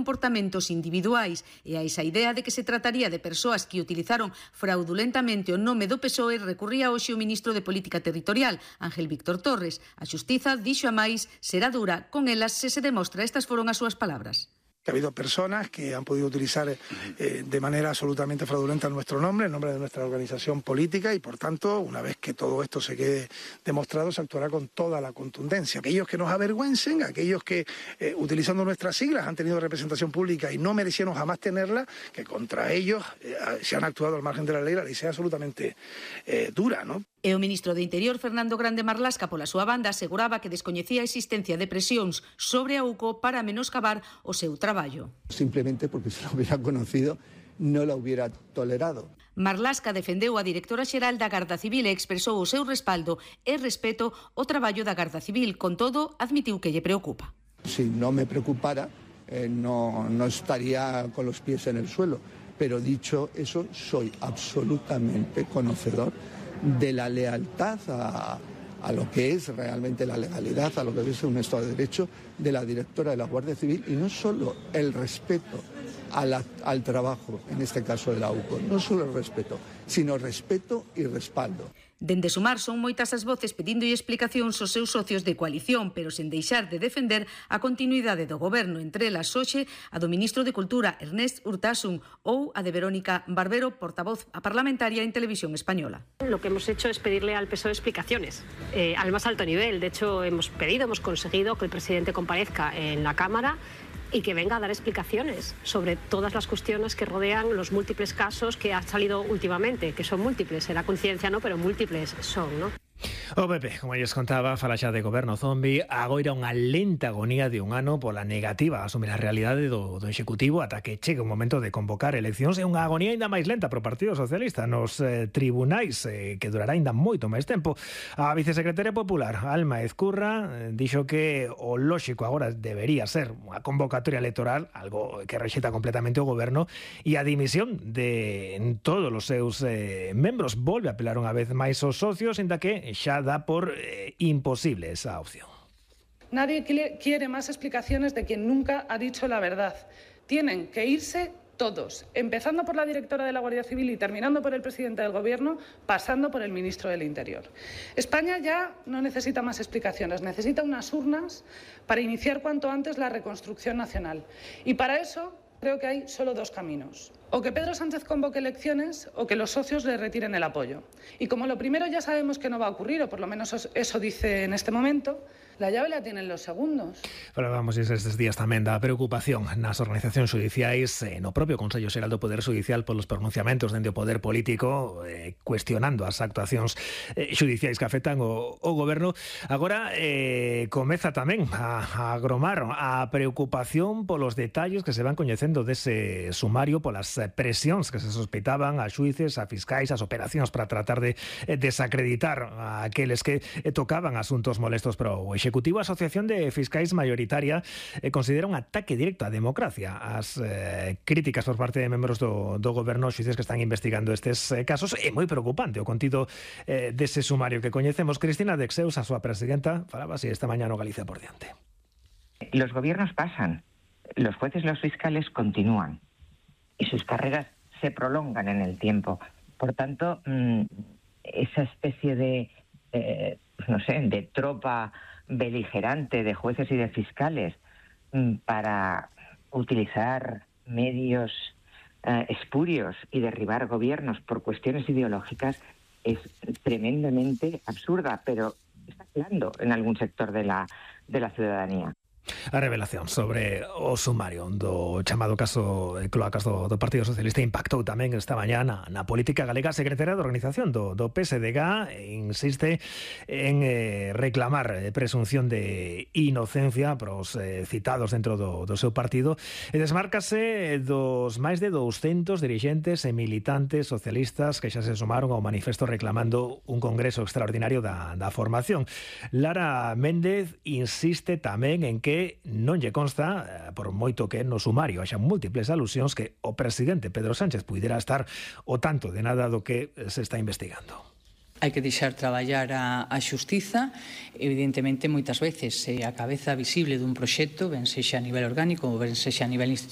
comportamentos individuais e a esa idea de que se trataría de persoas que utilizaron fraudulentamente o nome do PSOE recurría hoxe o ministro de Política Territorial, Ángel Víctor Torres. A xustiza dixo a máis será dura con elas se se demostra. Estas foron as súas palabras. Que ha habido personas que han podido utilizar de manera absolutamente fraudulenta nuestro nombre, el nombre de nuestra organización política, y por tanto, una vez que todo esto se quede demostrado, se actuará con toda la contundencia. Aquellos que nos avergüencen, aquellos que utilizando nuestras siglas han tenido representación pública y no merecieron jamás tenerla, que contra ellos se han actuado al margen de la ley sea absolutamente dura, ¿no? E o ministro de Interior, Fernando Grande Marlasca, pola súa banda, aseguraba que descoñecía a existencia de presións sobre a UCO para menoscabar o seu traballo. Simplemente porque se lo hubiera conocido no lo hubiera tolerado. Marlasca defendeu a directora xeral da Garda Civil e expresou o seu respaldo e respeto ao traballo da Garda Civil. Con todo, admitiu que lle preocupa. Si no me preocupara, no estaría con los pies en el suelo. Pero dicho eso, soy absolutamente conocedor de la lealtad a lo que es realmente la legalidad, a lo que es un Estado de Derecho de la directora de la Guardia Civil, y no solo el respeto al trabajo, en este caso de la UCO, no solo el respeto, sino respeto y respaldo. Dende Sumar son moitas as voces pedindo explicacións aos seus socios de coalición, pero sen deixar de defender a continuidade do goberno, entre elas hoxe a do ministro de Cultura, Ernest Urtasun, ou a de Verónica Barbero, portavoz parlamentaria en Televisión Española. Lo que hemos hecho es pedirle al PSOE explicaciones al más alto nivel. De hecho, hemos conseguido que el presidente comparezca en la Cámara y que venga a dar explicaciones sobre todas las cuestiones que rodean los múltiples casos que han salido últimamente, que son múltiples, será coincidencia no, pero múltiples son, ¿no? O PP, como lles contaba, fala xa de goberno zombi, agoira unha lenta agonía de un ano pola negativa a asumir a realidade do Executivo ata que chegue un momento de convocar eleccións, e unha agonía ainda máis lenta pro Partido Socialista nos tribunais, que durará ainda moito máis tempo. A vicesecretaria popular, Alma Ezcurra, dixo que o lóxico agora debería ser unha convocatoria electoral, algo que rexeta completamente o goberno, e a dimisión de todos os seus membros. Volve a apelar unha vez máis aos socios, ainda que xa da por imposible esa opción. Nadie quiere más explicaciones de quien nunca ha dicho la verdad. Tienen que irse todos, empezando por la directora de la Guardia Civil y terminando por el presidente del Gobierno, pasando por el ministro del Interior. España ya no necesita más explicaciones, necesita unas urnas para iniciar cuanto antes la reconstrucción nacional. Y para eso creo que hay solo dos caminos. O que Pedro Sánchez convoque elecciones o que los socios le retiren el apoyo. Y como lo primero ya sabemos que no va a ocurrir, o por lo menos eso dice en este momento, la llave la tienen los segundos. Falábamos estes días tamén da preocupación nas organizacións judiciais, no propio Consello Xeral do Poder Judicial polos pronunciamentos dende o poder político, cuestionando as actuacións judiciais que afectan o goberno. Agora comeza tamén a agromar a preocupación polos detalles que se van coñecendo dese sumario, polas presións que se sospeitaban a xuíces, a fiscais, as operacións para tratar de desacreditar a aqueles que tocaban asuntos molestos para o Executivo. A Asociación de Fiscais Mayoritaria considera un ataque directo á democracia as críticas por parte de membros do goberno, xuíces que están investigando estes casos. É moi preocupante o contido dese sumario que coñecemos. Cristina Dexeus, a súa presidenta, falaba así esta mañá no Galicia por diante. Los gobiernos pasan, los jueces y los fiscales continúan y sus carreras se prolongan en el tiempo. Por tanto, esa especie de de tropa beligerante de jueces y de fiscales para utilizar medios espurios y derribar gobiernos por cuestiones ideológicas es tremendamente absurda, pero está calando en algún sector de la ciudadanía. A revelación sobre o sumario do chamado caso cloacas do Partido Socialista impactou tamén esta mañá na política galega. A secretaria de organización do PSDG insiste en reclamar presunción de inocencia para os citados dentro do seu partido e desmárcase dos máis de 200 dirixentes e militantes socialistas que xa se sumaron ao manifesto reclamando un congreso extraordinario da formación. Lara Méndez insiste tamén en que non lle consta, por moito que no sumario haxa múltiples alusións, que o presidente Pedro Sánchez puidera estar ao tanto de nada do que se está investigando. Hai que deixar traballar a xustiza. Evidentemente, moitas veces a cabeza visible dun proxecto, ben sexa a nivel orgánico ou ben sexa a nivel institucional,